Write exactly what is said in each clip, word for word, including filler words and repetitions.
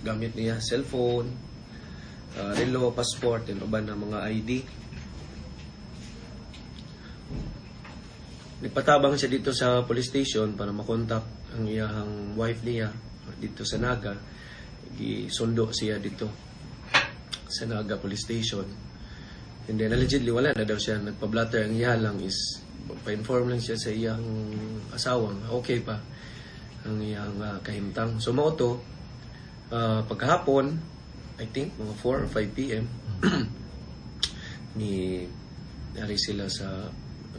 gamit niya, cellphone, uh, relo, passport, and uban na mga I D. Nagpatabang siya dito sa police station para makontak ang iyang wife niya dito sa Naga. Gisundo siya dito sa Naga Police Station. And then allegedly wala na daw siya nagpa-blatter. Ang iya lang is pa-inform lang siya sa iyang asawa nga okay pa ang iyang uh, kahimtang. So mao to, uh, pagkahapon, I think mga four or five p m ni ari sila sa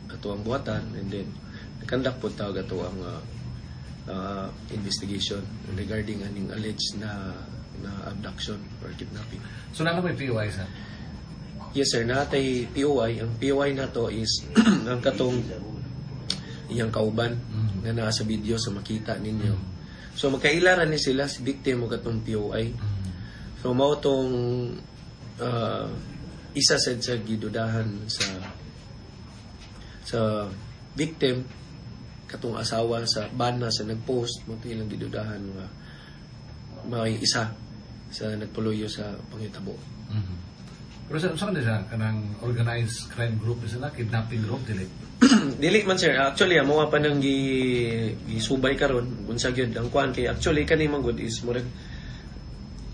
atoang buhatan and then nag-conduct pod tawag ato ang uh, uh, investigation regarding aning alleged na na abduction or kidnapping. So naa may P O I, sir? Yes sir, naa tay P O I. Ang P O I nato is ang katong iyang kauban nga naa sa video sa makita ninyo. So magkaila ra ni sila, si victim ug katong P O I. So mao tong uh, isa sad sa gidudahan sa sa victim, katong asawa sa bana sa nagpost, mao to ilang gidudahan nga may isa sa nagpuluyo sa panghitabo. Mm-hmm. Pero sa saan siya kanang organized crime group sila, kidnapping group, dili? Dili man, sir. Actually, amo pa nang gi gisubay karon unsa gyud ang kuan, kay actually kani man gud is murag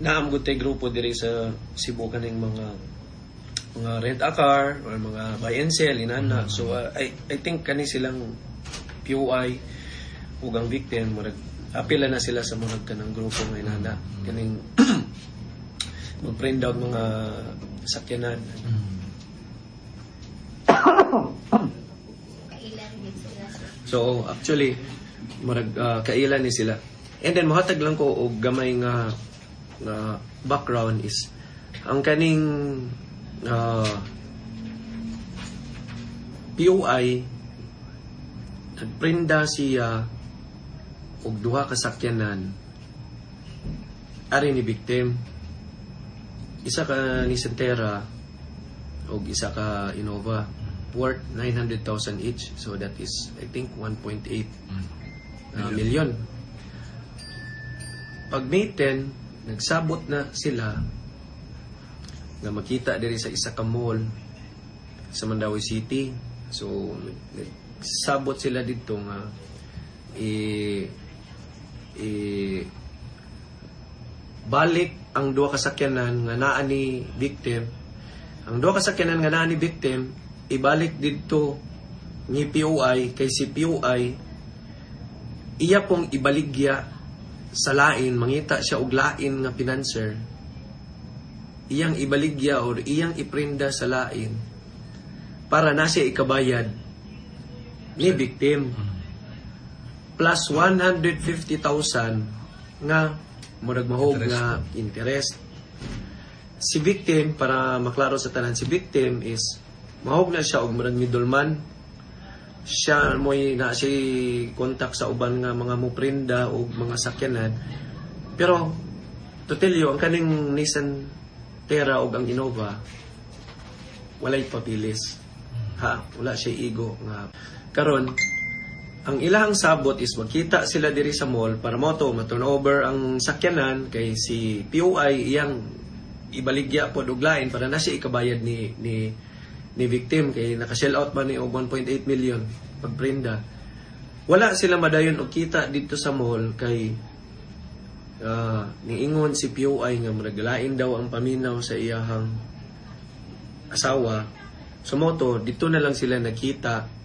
naa man gud tay grupo diri sa Cebu, kaning mga mga rent a car or mga buy and sell inana. So uh, I I think kani silang P O I ug ang victim, murag apila na sila sa murag kanang grupo nga inana, kaning mag-print out mga sakyanan. Kailan din sila, sir? So actually murag uh, kaila ni sila. And then mohatag lang ko og gamay nga nga background is ang kaning uh, P O I, nagprinda siya og duha ka sakyanan ari ni victim. Isa ka Nissan Terra og isa ka Innova, worth nine hundred thousand each, so that is, I think, one point eight uh, million. Pag May ten, nagsabot na sila nga makita diri sa isa ka mall sa Mandaue City. So nagsabot sila didto nga i i balik ang duha ka sakyanan nga naa ni victim. Ang duha ka sakyanan nga naa ni victim, ibalik didto ni P O I, kay si P O I iya pong ibaligya sa lain, mangita siya og lain nga financer, iyang ibaligya or iyang iprinda sa lain para na siya ikabayad ni victim plus one hundred fifty thousand nga murag mahog interest. Nga interest. Si victim, para maklaro sa tanan, si victim is mahog na siya og murag middleman siya mo'y na siya contact sa uban nga mga muprinda og mga sakyanan. Pero to tell you, ang kaning Nissan Terra og ang Innova, walay papilis ha, wala siya igo nga. Karon, ang ilahang sabot is magkita sila diri sa mall para mo to ma-turn over ang sakyanan, kay si P O I iyang ibaligya pod og lain para na siya ikabayad ni ni ni victim, kay naka-shell out man ni og one point eight million pagprinda. Wala sila madayon og kita dito sa mall kay uh, niingon si P O I nga murag lain daw ang paminaw sa iyahang asawa. So mo to, dito na lang sila nakita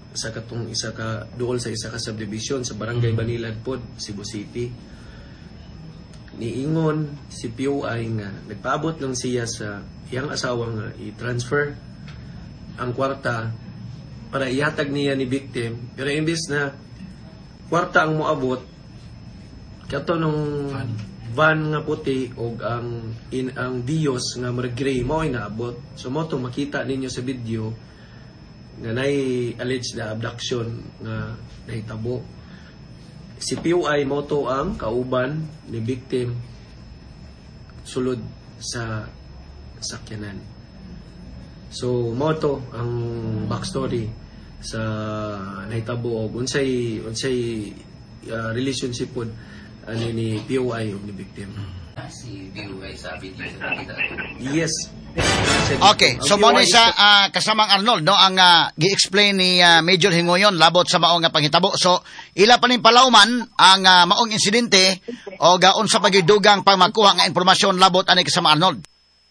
sa katong isa ka duol sa isa ka subdivision sa Barangay Banilad pod, Cebu City. Niingon si P O I nga nagpaabot lang siya sa iyang asawa nga i-transfer ang kwarta para ihatag niya ni victim, pero imbis na kwarta ang moabot, kato nung Van. Van nga puti og ang in ang Vios nga murag gray mao ay naabot. So mo to makita ninyo sa video nga nay alleged na abduction nga nahitabo. Si P O I mo to ang kauban ni victim sulod sa sakyanan. So mo to ang backstory sa nahitabo og unsay unsay uh, relationship pod ani ni P O I ug ni victim. si D Y sa video sa nakita ato. Yes. Okay, so mo ni sa ah, kasamang Arnold, no, ang ah, gi-explain ni ah, Major Hingoyon labot sa maong nga panghitabo. So ila pa ning palauman ang ah, maong insidente o unsa pa gyud dugang pang makuha nga impormasyon labot ani, kasama Arnold?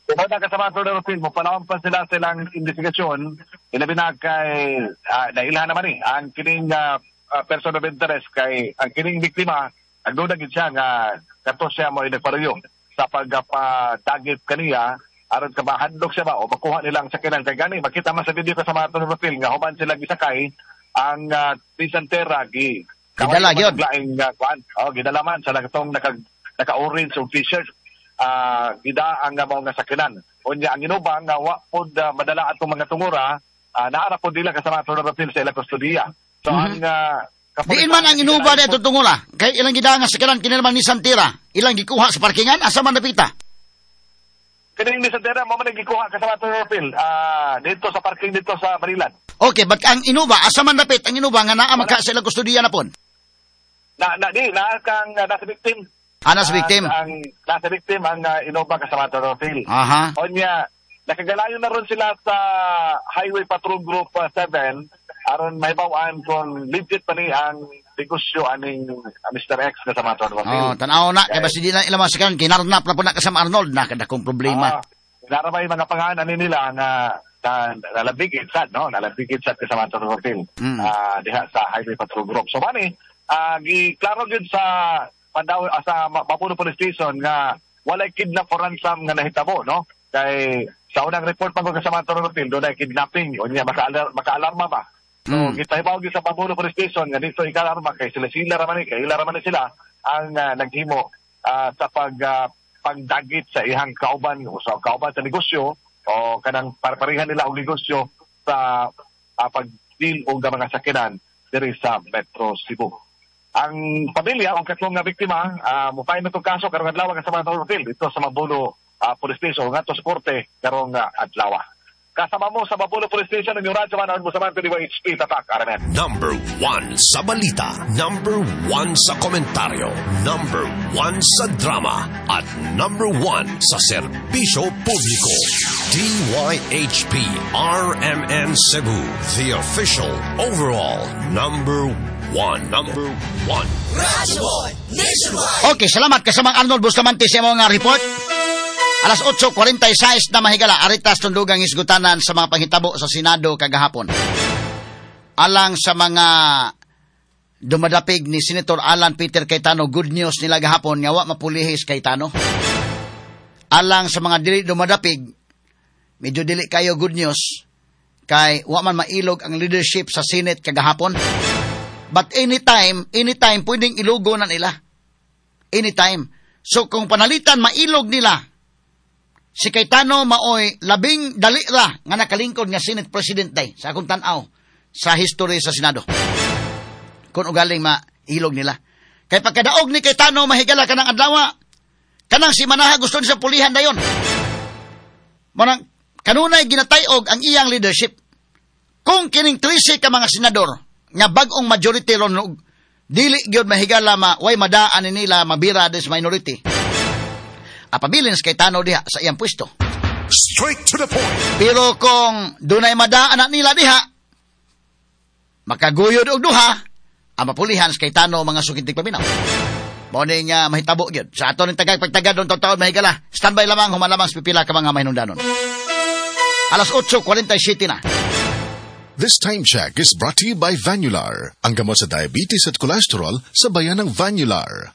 Kung na, kasama Atty. Phil, mo palawang pa sila silang investigasyon, ilabi na kay, uh, nailhan naman eh, ang kining uh, uh, person of interest kay, ang kining biktima, agduda gid siya nga kato siya mo nagparuyo sa pagpadagit kaniya aron ka mahadlok siya ba o makuha nila ang sakyanan. Kay gani makita man sa video, kasama Atty. Phil, nga human sila gisakay ang uh, Nissan Terra, gi Gidala gyud. Laing uh, kuan, oh, gidala man sa katong naka naka-orange og T-shirt, ah gida ang uh, mao nga sakyanan. Unya ang Innova nga wa pod uh, madala atong mga tungura, uh, naara pod nila, kasama Atty. Rapil, sa ila kustodiya. So ang uh, Diin man ang Innova na ito tungula? Kay ilang gida nga sakyanan kini naman Nissan Terra. Ilang gikuha sa parkingan, asa man napita? Kining Nissan Terra mo man gikuha, kasama Atty. Rapil, ah dito sa parking dito sa Maryland. Okay, but ang Innova, asa man dapit ang Innova nga naa man ka sa ilang kustodiya na pon? Na na di na kang uh, nasa victim. Ah, nasa victim. Ang, ang nasa victim ang uh, Innova, kasama Atty. Rapil. Aha. Onya, nakagalayo na ron sila sa Highway Patrol Group uh, seven aron mahibaw-an kung legit pa ni ang negosyo aning uh, Mister X, kasama Atty. Rapil. Oh, tanaw na kay basi di na ilang mga sakyanan kinarnap na po na, kasama Arnold, nakadakong problema. Ah, naramay mga pangalan ani nila nga na nalabigit sad, no, nalabigit sad, kasama Atty. Rapil, Mm. ah diha sa Highway Patrol Group. So mani ah giklaro gyud sa Mandaue, ah, sa Ma- Mapuno Police Station nga walay kidnap for ransom nga nahitabo, no, kay sa unang report man ko, kasama Atty. Rapil, dunay kidnapping. Unya maka maka-alarma ba. So Mm. gitahibaw gyud sa Mapuno Police Station nga dito ikalarma kay sila sila ra man ni, kay ila ra man ni sila ang ah, naghimo ah, sa pag ah, pagdagit sa ihang kauban o sa kauban sa negosyo o kanang parparehan nila og negosyo sa uh, pag-deal og mga sakyanan diri sa Metro Cebu. Ang pamilya o katlong nga biktima, uh, mo-file na tong kaso karong adlaw, kasama ng Phil, dito sa Mabulo ah, Police Station ngadto sa korte karong uh, adlaw. Kasama mo sa Mabulo Police Station ang inyong radyo man mo sa man D Y H P Tatak R M N. Number one sa balita. Number one sa komentaryo. Number one sa drama. At number one sa serbisyo publiko. D Y H P R M N Cebu. The official overall number one. Number one. Okay, salamat, kasamang Arnold Bustamante, sa imong nga report. Alas otso kwarenta y sais na, mahigala, aritas tundugang isgutanan sa mga panghitabo sa Senado kagahapon. Alang sa mga dumadapig ni Senator Alan Peter Cayetano, good news nila gahapon nga wa mapulihis Cayetano. Alang sa mga dili dumadapig, medyo dili kayo good news kay wa man mailog ang leadership sa Senate kagahapon. But anytime, anytime pwedeng ilugo na nila. Anytime. So kung panalitan mailog nila, si Cayetano maoy labing dali ra nga nakalingkod nga Senate President day sa akong tan-aw sa history sa Senado. Kung ugaling mailog nila. Kay pagkadaog ni Cayetano, mahigala, kanang adlaw, kanang si Manaha gusto niya pulihan dayon. Manang kanunay ginatayog ang iyang leadership. Kung kining trese ka mga senador nga bag-ong majority ron og dili gyud, mahigala, ma way madaan ni nila mabira des minority. Apabilin sa Cayetano diha sa iyang pwesto. Straight to the point. Pero kung dunay madaan na nila diha, makaguyod og duha, ang mapulihan sa Cayetano, mga sukintig paminaw. Mao ni nga mahitabo gyud. Sa ato ning tagag pagtagad don taon, mahigala. Standby lamang human lamang sa pipila ka mga mahinungdanon. Alas otso kwarenta y siyete na. This time check is brought to you by Vanular, ang gamot sa diabetes at cholesterol sa bayan ng Vanular.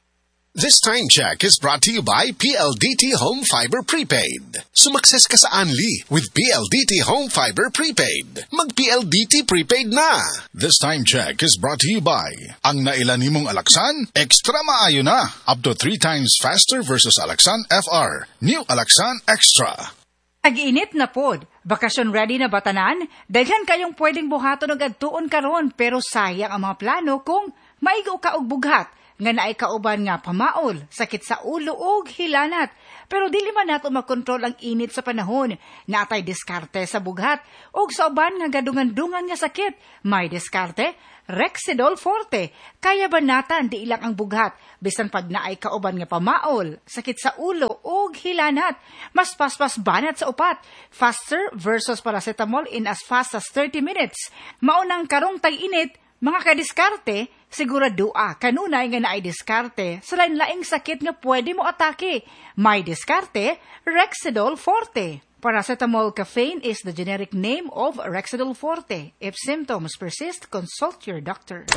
This time check is brought to you by P L D T Home Fiber Prepaid. Sumakses ka sa Unli with P L D T Home Fiber Prepaid. Mag-P L D T Prepaid na! This time check is brought to you by ang naila nimong Alaxan, extra maayo na. Up to three times faster versus Alaxan F R. New Alaxan Extra. Tag-init na pod. Bakasyon ready na ba tanan? Daghan kayong pwedeng buhaton og adtuon karon, pero sayang ang mga plano kung maigo ka og bughat. nga naay kauban nga pamaol, sakit sa ulo ug hilanat. Pero dili man nato makontrol ang init sa panahon. Naatay diskarte sa bughat ug sa uban nga gadungan-dungan nga sakit. May diskarte, Rexidol Forte. Kaya banatan di ilang ang bughat bisan pag naay kauban nga pamaol, sakit sa ulo ug hilanat. Mas paspas banat sa upat. Faster versus paracetamol in as fast as thirty minutes. Maunang karong tag-init, mga kadiskarte, siguradua kanunay nga naay diskarte sa lain-laing sakit nga pwede mo atake. May diskarte, Rexidol Forte. Paracetamol caffeine is the generic name of Rexidol Forte. If symptoms persist, consult your doctor.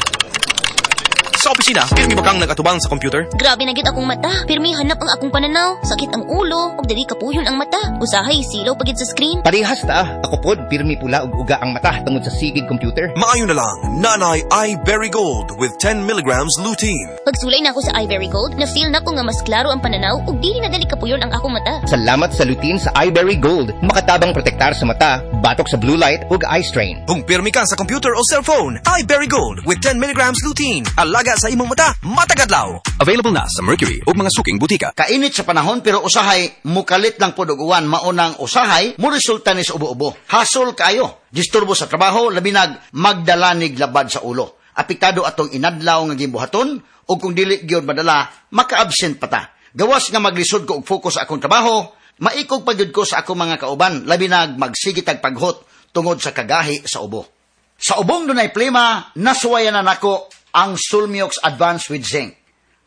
Sa opisina, pirmi ba kang nag-atubang sa computer? Grabe na gid akong mata. Pirmi hanap ang akong pananaw. Sakit ang ulo, ug dili kapuyon ang mata. Usahay silaw pagid sa screen. Parehas ta. Ako pod pirmi pula ug uga ang mata tungod sa sigig computer. Maayo na lang, Nanay iBerry Gold with ten milligrams lutein. Pagsulay na ako sa iBerry Gold, na-feel na ko nga mas klaro ang pananaw ug dili na dali kapuyon ang akong mata. Salamat sa lutein sa iBerry Gold. Makatabang protektar sa mata, batok sa blue light ug eye strain. Kung pirmi ka sa computer o cellphone, iBerry Gold with ten milligrams lutein. Alaga sa imong mata, matagadlaw. Available na sa Mercury ug mga suking butika. Kainit sa panahon pero usahay mukalit lang pod og uwan, maunang usahay mo resulta ni sa ubo-ubo. Hasol kaayo, disturbo sa trabaho, labinag magdalanig labad sa ulo. Apektado atong inadlaw nga gimbuhaton ug kung dili gyud madala, maka-absent pa ta. Gawas nga maglisod ko og focus sa akong trabaho, maikog pa gyud ko sa akong mga kauban, labinag magsigitag paghot tungod sa kagahi sa ubo. Sa ubong dunay plema, nasuwayan na nako ang Sulmiox Advance with Zinc.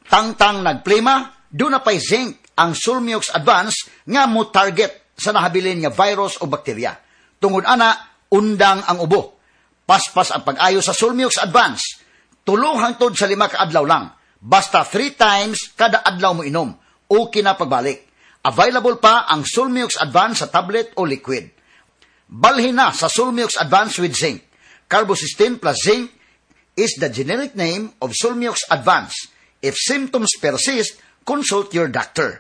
Tangtang nagplema, doon na pa'y zinc ang Sulmiox Advance nga mo target sa nahabilin nga virus o bakterya. Tungod ana, undang ang ubo. Paspas ang pag-ayo sa Sulmiox Advance. Tulo hangtod sa lima ka adlaw lang. Basta three times kada adlaw mo inom. Okay na pagbalik. Available pa ang Sulmiox Advance sa tablet o liquid. Balhin na sa Sulmiox Advance with Zinc. Carbocysteine plus zinc is the generic name of Sulmiox Advance. If symptoms persist, consult your doctor.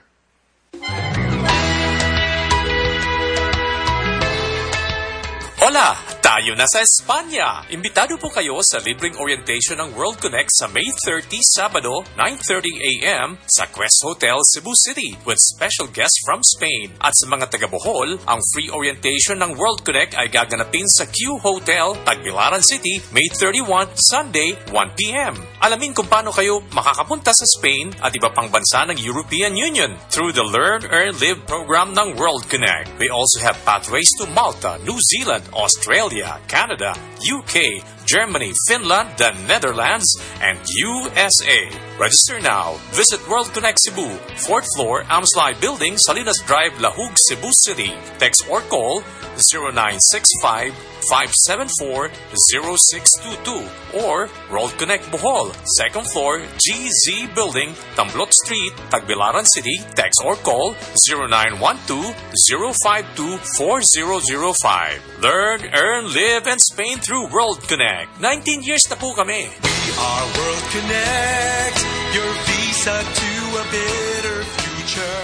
Hola! Tayo na sa Espanya! Imbitado po kayo sa libreng orientation ng World Connect sa May thirtieth, Sabado, nine thirty a m sa Quest Hotel, Cebu City with special guests from Spain. At sa mga taga-Bohol, ang free orientation ng World Connect ay gaganapin sa Q Hotel, Tagbilaran City, May thirty-first, Sunday, one p m. Alamin kung paano kayo makakapunta sa Spain at iba pang bansa ng European Union through the Learn, Earn, Live program ng World Connect. We also have pathways to Malta, New Zealand, Australia, Canada, U K, Germany, Finland, the Netherlands, and U S A. Register now. Visit World Connect Cebu, fourth floor, Amslai Building, Salinas Drive, Lahug, Cebu City. Text or call zero nine six five, five seven four, zero six two two or World Connect Bohol, second floor, G Z Building, Tamblot Street, Tagbilaran City. Text or call zero nine one two, zero five two, four zero zero five. Learn, earn, live, and Spain through World Connect. nineteen years na po kami. We are World Connect, your visa to a better future.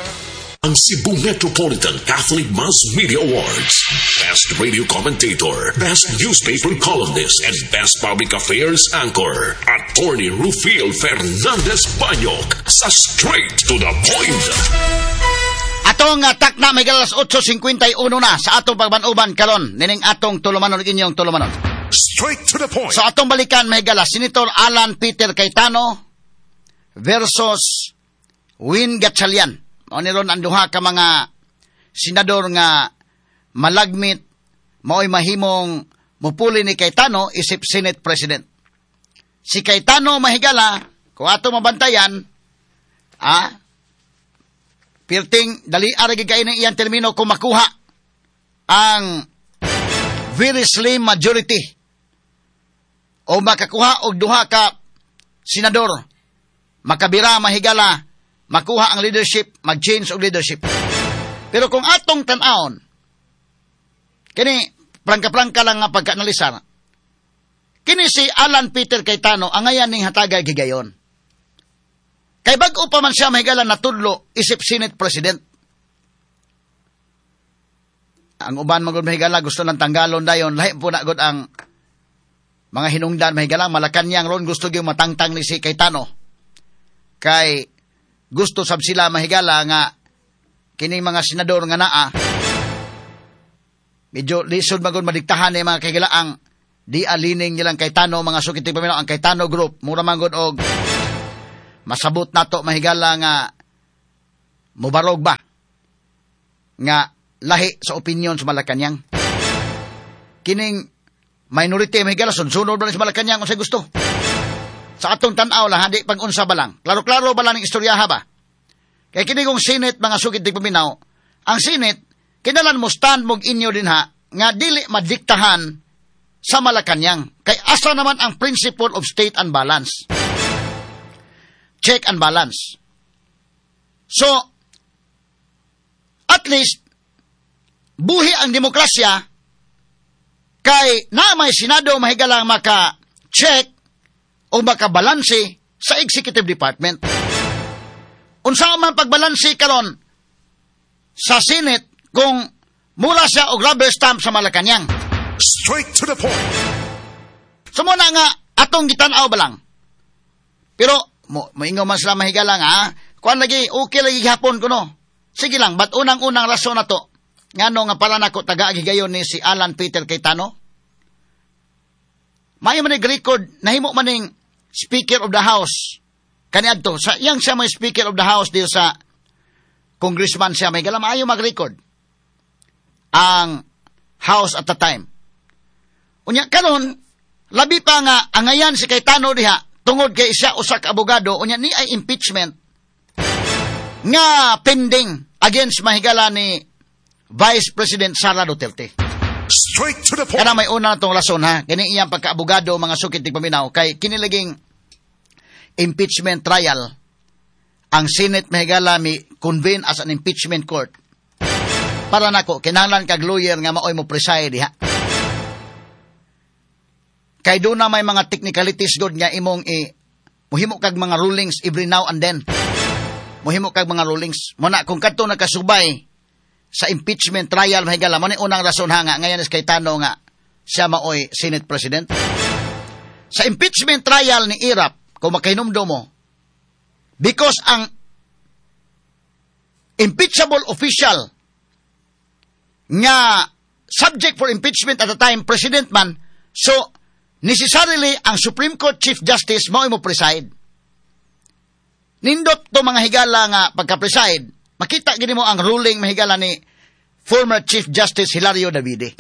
Ang Cebu Metropolitan Catholic Mass Media Awards. Best Radio Commentator, Best Newspaper Columnist, and Best Public Affairs Anchor. Attorney Rufil Fernandez Banyok sa Straight to the Point. Atong takna may alas otso singkwenta y uno na sa atong pagbanuban karon nining atong tulumanon inyong tulumanon. Straight to the point. So atong balikan may galas Senator Alan Peter Cayetano versus Win Gatchalian. O niron ang duha ka mga senador nga malagmit maoy mahimong mupuli ni Cayetano isip Senate President. Si Cayetano mahigala kung ato mabantayan, ah, pirting dali aragi kay ng iyang termino kung makuha ang very slim majority o makakuha og duha ka senador, makabira mahigala, makuha ang leadership, mag-change og leadership. Pero kung atong tan-awon, kini prangka-prangka lang nga pagka-analisar, kini si Alan Peter Cayetano ang ngayan ning hatagay gigayon. Kay bag-o pa man siya mahigala natudlo isip Senate President. Ang uban magud mahigala gusto ng tanggalon dayon, lahi po na gud ang mga hinungdan mahigala, Malacañang ron gusto gyud matangtang ni si Cayetano. Kay gusto sab sila, mahigala, nga kining mga senador nga naa medyo lisod magod madiktahan ni mga kahigala ang di alining nilang Cayetano, mga suki tigpaminaw. Ang Cayetano Group, mura man gud og masabot nato, mahigala, nga mubarog ba nga lahi sa opinion sa Malacanang. Kining minority, mahigala, sunod ba sa Malacanang unsay gusto. Sa atong tan-aw lang, di pag unsa ba lang. Klaro-klaro ba lang ng istoryaha ba? Kay kini kong Senate, mga suki tigpaminaw, ang Senate, kinalan mo stand mog inyo din ha, nga dili madiktahan sa Malacanang. Kay asa naman ang principle of state and balance? Check and balance. So, at least, buhi ang demokrasya kay na may Senado, mahigalang, maka-check o makabalanse sa executive department. Unsa man pagbalanse karon sa Senate kung mura siya og rubber stamp sa Malacanang? Straight to the point. So mo na nga atong gitan-aw ba lang. Pero mo moingon man sila, mahigala, nga ah, kuan lagi, okay lagi gihapon kuno. Sige lang, but unang-unang rason na to ngano nga para nako taga higayon ni si Alan Peter Cayetano. Maayo man record, nahimo man ning Speaker of the House kaniadto sa iyang siya may Speaker of the House dito sa congressman siya, may gala, maayo mag-record ang House at the time. Unya karon labi pa nga angayan si Cayetano diha tungod kay siya usa ka abogado, unya ni ay impeachment nga pending against, mahigala, ni Vice President Sara Duterte. Straight to the point. Kana may una na tong rason ha, kini iyang pagkaabogado, mga suki tigpaminaw, kay kinilaging impeachment trial, ang Senate, mahigala, mi convene as an impeachment court. Para nako, kinahanglan kag lawyer nga maoy mo preside diha. Kay doon na may mga technicalities god nga imong i muhimo kag mga rulings every now and then. Muhimo kag mga rulings. Muna kung kadto nakasubay sa impeachment trial, mahigala, mo ni unang rason ha nga ngayon is Cayetano nga siya maoy Senate President. Sa impeachment trial ni Erap, kung makahinumdum mo, because ang impeachable official nga subject for impeachment at the time, president man, so necessarily ang Supreme Court Chief Justice mao mo preside. Nindot to, mga higala, nga pagka-preside, makita gini mo ang ruling, mahigala, ni former Chief Justice Hilario Davide.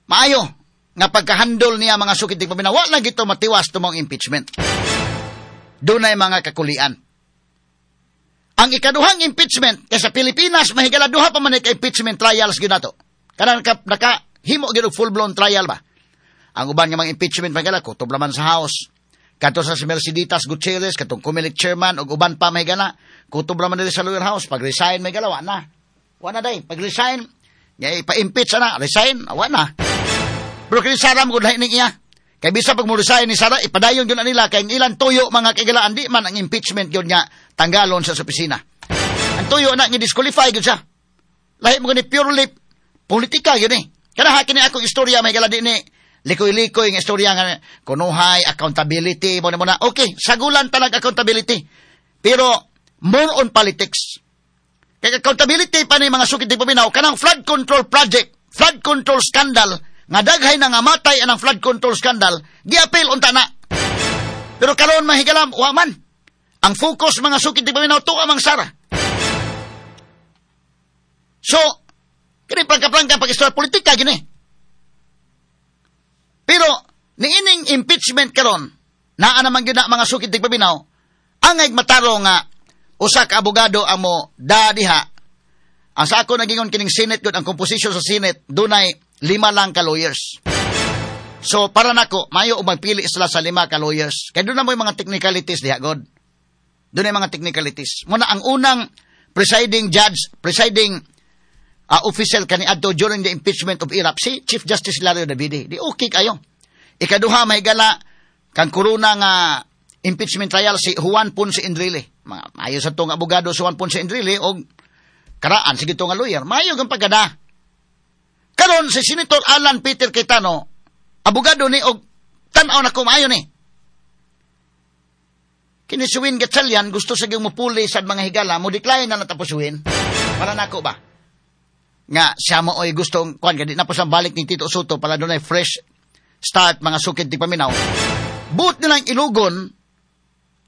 Maayo nga pagkahandol niya, mga suki tigpaminaw, wa lang gito matiwas tumong impeachment. Dunay mga kakulian. Ang ikaduhang impeachment kay sa Pilipinas, mahigala, duha pa man ka impeachment trials gyud nato. Kanang naka, naka himo gyud og full-blown trial ba. Ang uban nga mga impeachment, mahigala, kutob man sa House. Kadto sa si Merceditas Gutierrez, katong Comelec chairman ug uban pa, mahigala, kutob man diri sa lower house. Pag resign, mahigala, wa na. Wa na day. Pag resign, nga ipa-impeach na, resign, wa na. Pero kini Sara mo lahi ning iya. Kay bisa pag mo resign ni Sara, ipadayon gyud na nila kay ang ilang tuyo, mga kaigalaan, di man ang impeachment gyud nga tanggalon siya sa opisina. Ang tuyo na nga disqualify gyud siya. Lahi mo gani, purely politika gyud ni. Kana ha, kini akong istorya, may gala, di ni likoy-likoy nga istorya nga kunuhay accountability mo na mo na. Okay, sagulan talag accountability. Pero more on politics. Kay accountability pa ni, mga suki tigpaminaw, kanang flood control project, flood control scandal nga daghay na nga matay anang flood control scandal, giapil unta na. Pero karon, mahigalam, wa man. Ang focus, mga suki tigpaminaw, tuwa mang Sara. So, kini prangka-prangka pag-istorya politika gini. Pero niining impeachment karon, naa naman gyud na, mga suki tigpaminaw, angay mataro nga usa ka abogado ang mo da diha. Ang sa ako nagingon, kining Senate gud, ang composition sa Senate dunay lima lang ka lawyers. So para nako, mayo og magpili sila sa lima ka lawyers. Kay doon na mo yung mga technicalities diha god. Doon mga technicalities. Muna ang unang presiding judge, presiding uh, official kaniadto during the impeachment of Erap, si Chief Justice Hilario Davide. Di okay kayo. Ikaduha, mahigala, kang Corona nga impeachment trial, si Juan Ponce Enrile. Mga maayo sa tong abogado si Juan Ponce Enrile og karaan sige to nga lawyer. Maayo kang pagkada. Karon si Senator Alan Peter Cayetano, abogado ni og tan-aw na ko maayo ni. Kini si Win Gatchalian gusto sa gyung mupuli sa mga higala, mo decline na natapos si Win. Para nako ba? Nga siya mo oy gustong kuan kay di na po sa balik ni Tito Sotto para dunay fresh start, mga sukid tigpaminaw. Buot nilang ilugon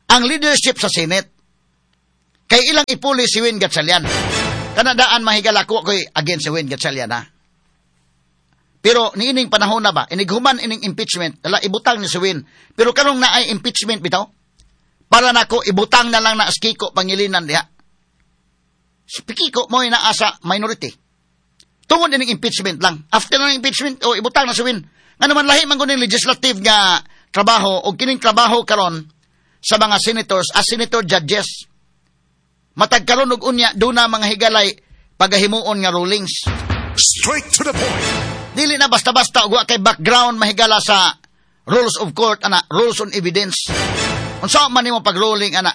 ang leadership sa Senate. Kay ilang ipuli si Win Gatchalian. Kanadaan mahigala ko ko'y against si Win Gatchalian ha. Pero niining panahon na ba, inighuman ining impeachment, dala ibutang ni si Win. Pero karong naay impeachment bitaw, para nako ibutang na lang na si Kiko Pangilinan diha. Si Kiko mo naa sa minority. Tungod ining impeachment lang. After ng impeachment, o ibutang na si Win. Nga naman lahi man kuning legislative nga trabaho o kining trabaho karon sa mga senators as senator judges. Matag karon og unya duna mga higalay pagahimuon nga rulings. Straight to the point. Dili na basta-basta og wa kay background mahigala sa rules of court ana, rules on evidence. Unsa man nimo pag-ruling ana?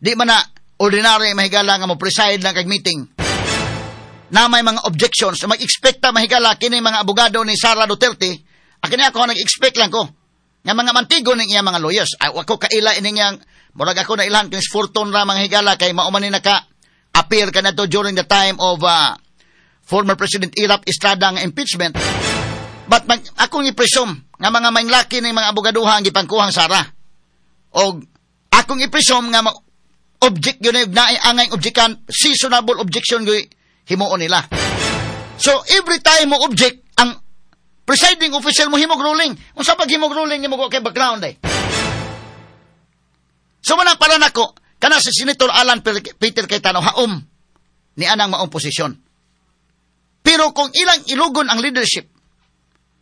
Di man na ordinary mahigala nga mo preside lang kag meeting. Na may mga objections, mag-expect ta mahigala kini mga abogado ni Sara Duterte. Akin ako nag-expect lang ko nga mga mantigo ning iya mga lawyers. Ay, wako kaila ini niyang murag ako na ilhan kinis Fortun ra mga higala kay mao man ni naka appear kanato during the time of uh, former President Erap Estrada nga impeachment. But mag, akong i-presume nga mga mainglaki ng mga abogaduha ang gipangkuhang Sara. Og akong i-presume nga ma- object yun na naay angay objekan, seasonable objection gyud himuon nila. So every time mo object, ang presiding officer mo himog ruling. Unsa pag himog ruling nimo kay background eh. So man para nako kana si Senator Alan Peter Cayetano haom ni anang maong posisyon. Pero kung ilang ilugon ang leadership,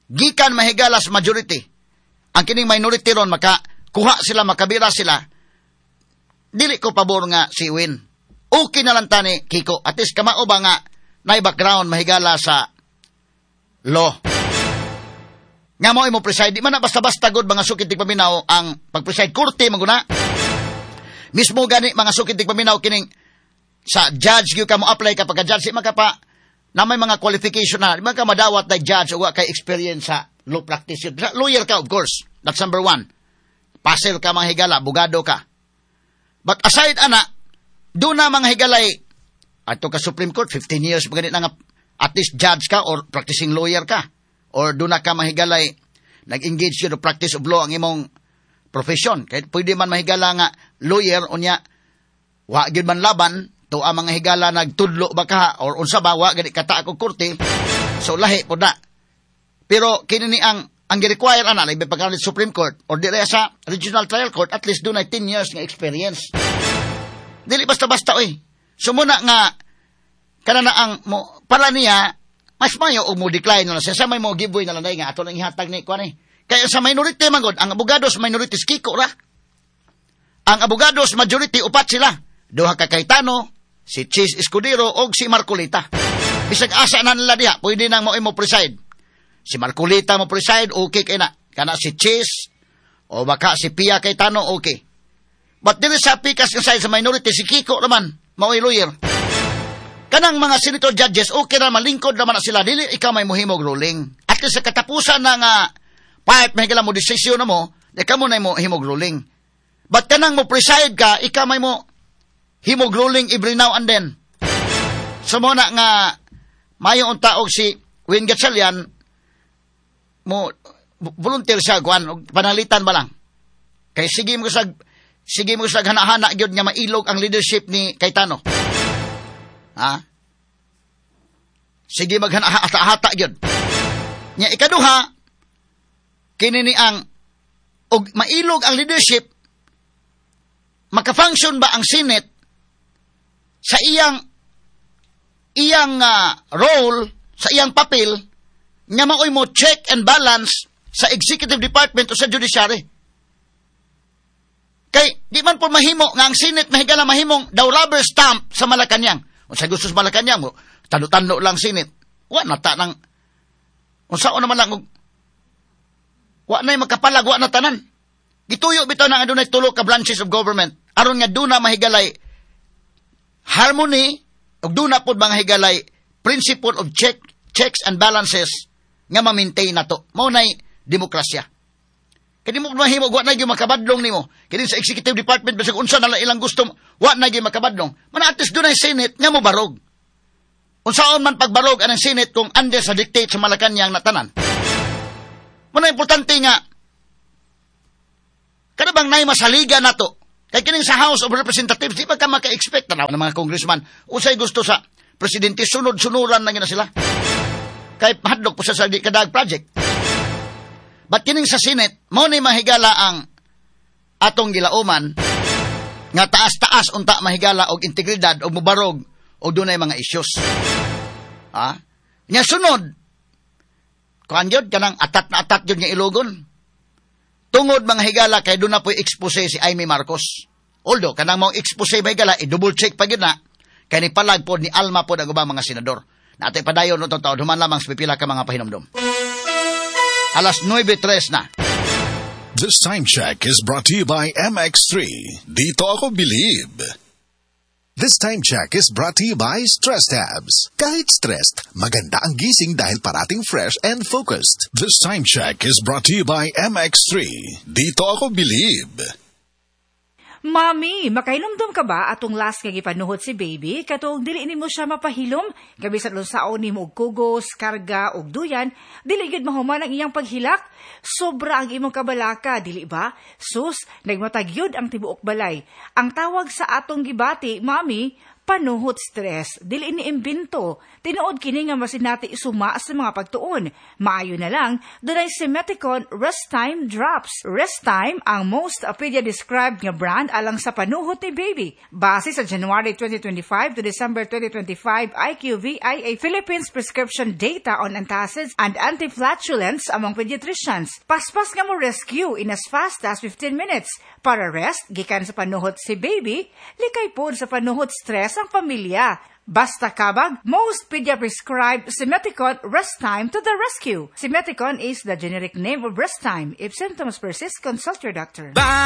gikan mahigala sa majority, ang kining minority ron maka kuha sila, makabira sila, dili ko pabor nga si Win. Okay na lang tani, Kiko. At least kamao ba nga nay background mahigala sa law. Nga mo imo preside, di man na basta-basta gud mga sukid tigpaminaw ang pag-preside korte maguna. Mismo gani mga sukid tigpaminaw kining sa judge gyud ka mo apply ka pagka judge di man ka pa na may mga qualification na, di man ka madawat na judge o wa kay experience sa law practice. Lawyer ka, of course. That's number one. Pasel ka mga higala, abogado ka. But aside ana, doon na mga higalay, ato ka Supreme Court, fifteen years pa ganit na nga, at least judge ka or practicing lawyer ka. Or doon na ka mahigalay, nag-engage yun practice of law ang imong profession. Kahit pwede man mahigala nga lawyer, unya, wa gyud man laban, to ang mga higala nagtudlo ba ka or unsa ba wa gani kata ako korte, so lahi po na. Pero kini ni ang ang gi-require ana labi pa Supreme Court or dire sa Regional Trial Court, at least dunay ten years nga experience. Dili basta-basta oy. So muna nga kana na ang mo, para niya mas mayo og mo decline na siya sa may mo giveaway na lang nga ato lang ihatag ni kuan eh. Kaya sa minority man gud, ang abogado sa minority Kiko ra. Ang abogado sa majority upat sila. Duha ka Cayetano, si Chiz Escudero og si Marcoleta. Bisag asa na nila diha, pwede nang mo mo preside. Si Marcoleta mo preside, okay kay na. Kana si Chiz o baka si Pia Cayetano, okay. But dili sa pikas nga side sa minority, si Kiko naman, mao'y lawyer. Kanang mga senator judges, okay na malingkod naman na sila, dili ikaw may muhimog ruling. At least sa katapusan ng uh, part, may mo desisyon na mo, di ka mo na mo himog ruling. But kanang mo preside ka, ikaw may mo himog ruling every now and then. So mo na nga, mayo unta og si Win Gatchalian, mo volunteer siya, kuan, og panalitan ba lang. Kay sige mo sag, sige mo sag hana-hana gyud nga mailog ang leadership ni Cayetano. Ha? Sige maghana-hata gyud. Nya ikaduha, kini ni ang og mailog ang leadership, maka-function ba ang Senate sa iyang iyang uh, role, sa iyang papel nga maoy mo check and balance sa executive department o sa judiciary? Kay di man po mahimo nga ang Senate mahigala mahimong daw rubber stamp sa Malacanang. Unsa gusto sa Malacanang mo, tano-tano lang Senate. Wa na ta nang unsa naman lang wa nay makapalag, wa na tanan. Gituyo bitaw na nga dunay tulo ka branches of government aron nga duna mahigalay harmony ug duna pod mga higalay principle of check checks and balances nga ma-maintain nato. Mao nay demokrasya. Kay di mo mahimo, wa na gyud makabadlong nimo. Kini sa executive department bisag unsa na lang ilang gusto, wa na gyud makabadlong. Mana at least dunay Senate nga mo barog. Unsaon man pagbarog anang Senate kung under sa dictate sa Malacanang na tanan. Muna importante nga kada bang nay masaliga nato. Kay kining sa House of Representatives, di ba ka maka-expect na ng mga congressman usay gusto sa presidente, sunod-sunuran na gina sila. Kay mahadlok po sa sa di kadag project. But kining sa Senate, mao ni mahigala ang atong gilauman nga taas-taas unta mahigala og integridad og mubarog og dunay mga issues. Ha? Nya sunod, kuan gyud kanang atat na atat gyud nga ilogon. Tungod mga higala kay doon na po'y expose si Imee Marcos. Although, kanang mao expose ba higala, i-double check pa gyud na, kay ni palag pod ni Alma pod ang ubang mga senador. Natay padayon no taon, human lamang sa pipila ka mga pahinomdom. Alas nuwebe tres na. This time check is brought to you by M X three. Dito ako believe. This time check is brought to you by Stress Tabs. Kahit stressed, maganda ang gising dahil parating fresh and focused. This time check is brought to you by M X three. Dito ako believe. Mami, makahinumdum ka ba atong last nga gipanuhot si baby katong dili nimo siya mapahilom gabi sa unsaon nimo og kugos, karga og duyan, dili gyud mahuman ang iyang paghilak? Sobra ang imong kabalaka, dili ba? Sus, nagmatag gyud ang tibuok balay. Ang tawag sa atong gibati, mami, panuhot stress. Dili ni imbento. Tinuod kini nga masinati suma sa mga pagtuon. Maayo na lang, dunay Simeticone Rest Time Drops. Rest Time ang most pedia described nga brand alang sa panuhot ni baby. Base sa January twenty twenty-five to December twenty twenty-five I Q V I A Philippines prescription data on antacids and antiflatulents among pediatricians. Paspas nga mo rescue in as fast as fifteen minutes. Para rest, gikan sa panuhot si baby, likay pod sa panuhot stress ang pamilya. Basta kabag, most pedia prescribed Simeticone Rest Time to the rescue. Simeticone is the generic name of Rest Time. If symptoms persist, consult your doctor. Bye!